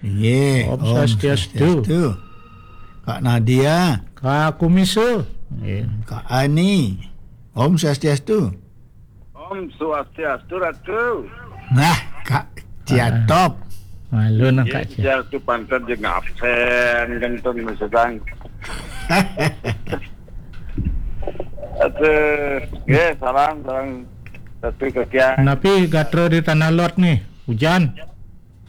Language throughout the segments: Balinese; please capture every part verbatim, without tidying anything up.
Nggih, Om Om Swastiastu. Swastiastu. Kak Nadia. Kak Kumisa. Nggih. Kak Ani. Om Swastiastu. Om Swastiastu, Ratu. Nah, Kak Ciatop. Malu nang Kak Cia. Swastiastu panten jeung absen, genteng sedang. Aduh, nggih, salam, salam. Satu kekian. Napi gatra di Tanah Lot nih, hujan?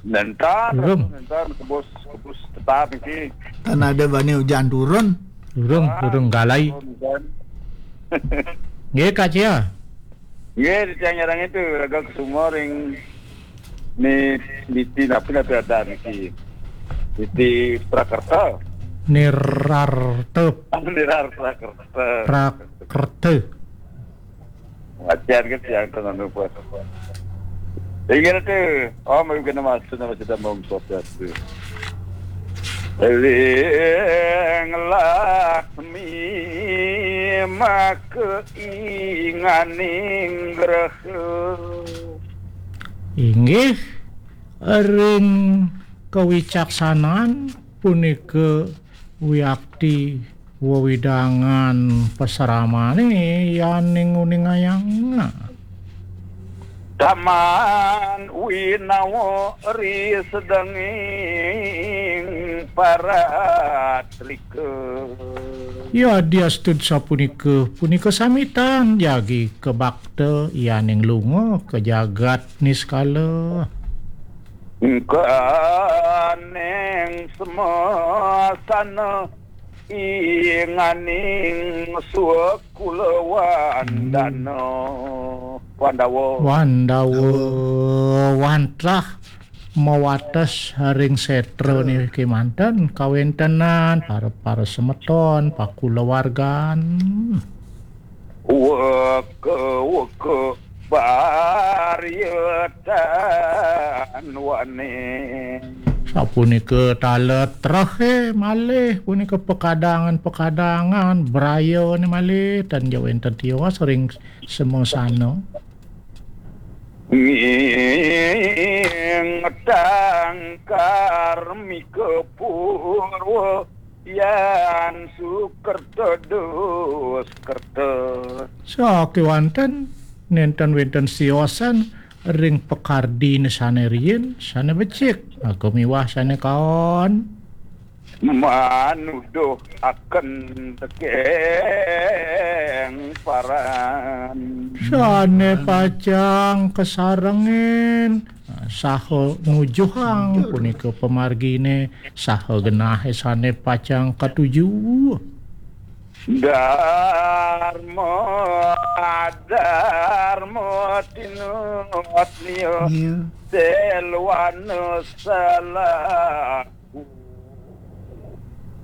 Nentan, Belum. Nentan, kebus, kebus tetap iki. Kan ada bani hujan turun. Turun, Ah, turun galai. Turun, kan. Nggih, Kak Cia. Nggih, di tiang nyarang itu, raga kesuma ring ni, niti napi napi ada niki. Niti Prakerta. Nirartep. Ah, Nirar Prakerta. Prakerta. Wajar kan tiang tenang lupa. Ingat tu, oh, mungkin nama tu nama cerita Om Swastiastu. Ring lakmi maka inganing graha. Inggih, ring kawicaksanan punika wiakti wewidangan pasramane yaning uningayang. Taman winawa ri sedenging paratrika. Ya diastud sapunika, punika samitan jagi kabakta yaning lunga ka jagat niskala. Engkaning semasana inganing swakula wandana. Wandawa. Wandawa, wantah mawates ring setra niki manten kawentenan para, para semeton, pakulawargan. Weka, weka, barietan wane. Sapunika taler trehe malih, punika pekadangan-pekadangan brayane malih, tan ja wenten tios ring semasana. Nging tangkar mika purwa yan sukerta duskerta. Sakewanten nenten wenten siosan ring pakardine sane riin, sane becik, aga miwah sane kaon. Manuduh aken tekeng paran. Sane pacang kasarengin, saha nujuhang punika pamargine, saha genahe sane pacang katuju. Darma, darma tinut niya. Iya. Selwana salah.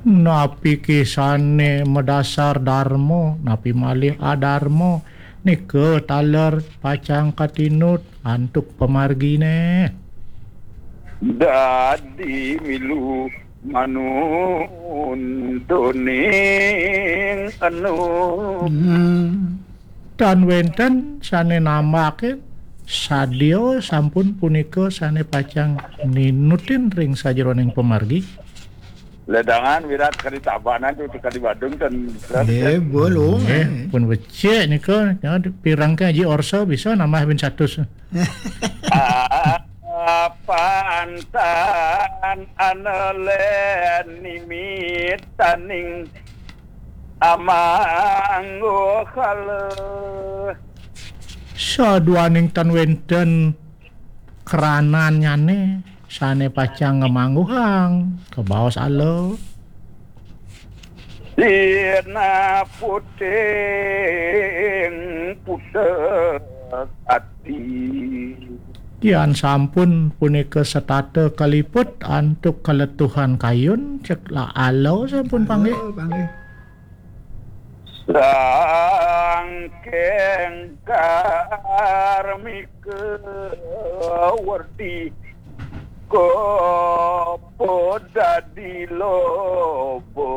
Napi kisane madasar darma, napi malih adarma, nika taler pacang katinut antuk pamargine. Dadi milu manuntuning anu. Hmm. Tan wenten sane nambakin sadia sampun punika sane pacang ninutin ring sajeroning pamargi. Ledangan wirat kadi Tabanan tu kadi Badung ten. Nggih, bolong. Nggih, pun becik nika, ya, pirang ke aji orsa bisa nambah bin satus. Ah, pantan anelen nimitaning amangguhala. Saduaning tan wenten kranannyane sane pacang ngamangguhang kabaos ala. Sina puting putek ati. Yan sampun punika setata kaliput antuk kaletuhan kayun, cek la ala sampun panggih. Ala panggih. Sangking karmika werdi kopo dadi lobo.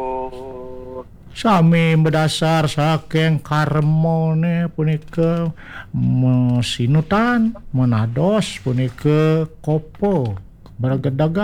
Sami madasar saking karmane punika masinutan, manados punika kopo, bergedagan.